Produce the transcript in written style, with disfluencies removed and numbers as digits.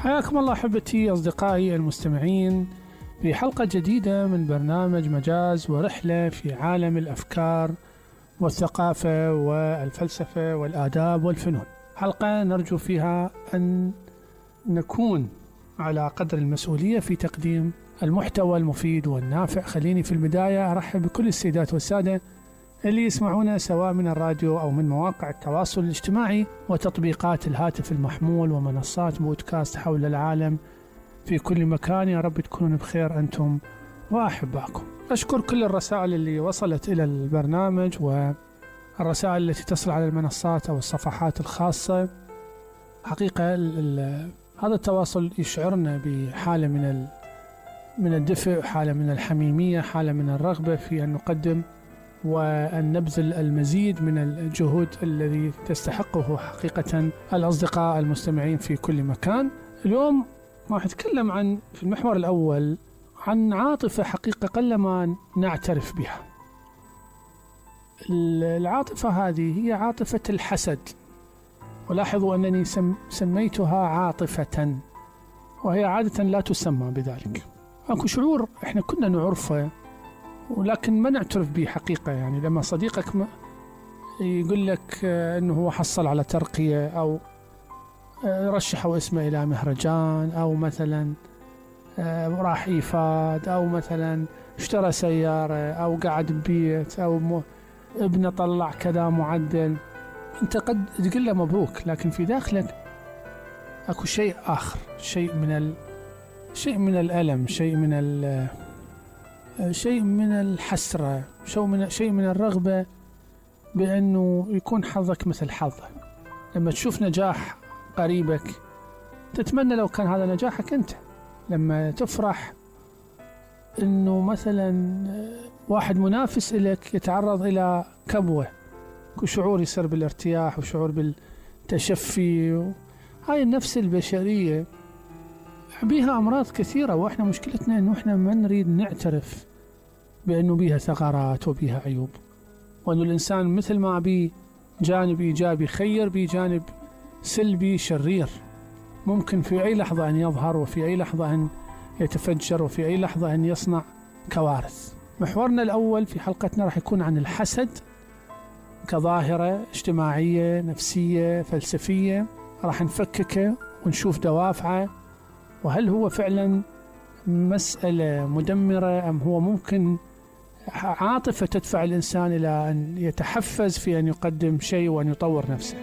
حياكم الله أحبتي أصدقائي المستمعين في حلقة جديدة من برنامج مجاز ورحلة في عالم الأفكار والثقافة والفلسفة والآداب والفنون. حلقة نرجو فيها أن نكون على قدر المسؤولية في تقديم المحتوى المفيد والنافع. خليني في البداية أرحب بكل السيدات والسادة اللي يسمعونا سواء من الراديو أو من مواقع التواصل الاجتماعي وتطبيقات الهاتف المحمول ومنصات بودكاست حول العالم في كل مكان. يا رب تكونون بخير أنتم وأحباكم. أشكر كل الرسائل اللي وصلت إلى البرنامج والرسائل التي تصل على المنصات أو الصفحات الخاصة. حقيقة هذا التواصل يشعرنا بحالة من الدفء، حالة من الحميمية، حالة من الرغبة في أن نقدم وأن نبذل المزيد من الجهود الذي تستحقه حقيقة الأصدقاء المستمعين في كل مكان. اليوم راح أتكلم في المحور الأول عن عاطفة حقيقة قلما نعترف بها. العاطفة هذه هي عاطفة الحسد، ولاحظوا أنني سميتها عاطفة وهي عادة لا تسمى بذلك. أكو شعور إحنا كنا نعرفه ولكن ما نعترف به حقيقة. يعني لما صديقك يقول لك أنه هو حصل على ترقية أو رشحوا اسمه إلى مهرجان أو مثلا راح إيفاد أو مثلا اشترى سيارة أو قاعد ببيت أو ابنه طلع كذا معدل، أنت قد تقول له مبروك، لكن في داخلك أكو شيء آخر، شيء من الألم، شيء من الحسرة، شيء من الرغبة بأنه يكون حظك مثل حظه. لما تشوف نجاح قريبك تتمنى لو كان هذا نجاحك أنت. لما تفرح أنه مثلا واحد منافس لك يتعرض إلى كبوة، شعور يصير بالارتياح وشعور بالتشفي. هاي النفس البشرية بيها أمراض كثيرة، وإحنا مشكلتنا أنه إحنا ما نريد نعترف بأنه بيها ثغرات وبيها عيوب، وأنه الإنسان مثل ما بيه جانب إيجابي خير بيه جانب سلبي شرير، ممكن في أي لحظة أن يظهر وفي أي لحظة أن يتفجر وفي أي لحظة أن يصنع كوارث. محورنا الأول في حلقتنا راح يكون عن الحسد كظاهرة اجتماعية نفسية فلسفية. راح نفككه ونشوف دوافعه، وهل هو فعلا مسألة مدمرة أم هو ممكن عاطفة تدفع الإنسان إلى أن يتحفز في أن يقدم شيء وأن يطور نفسه.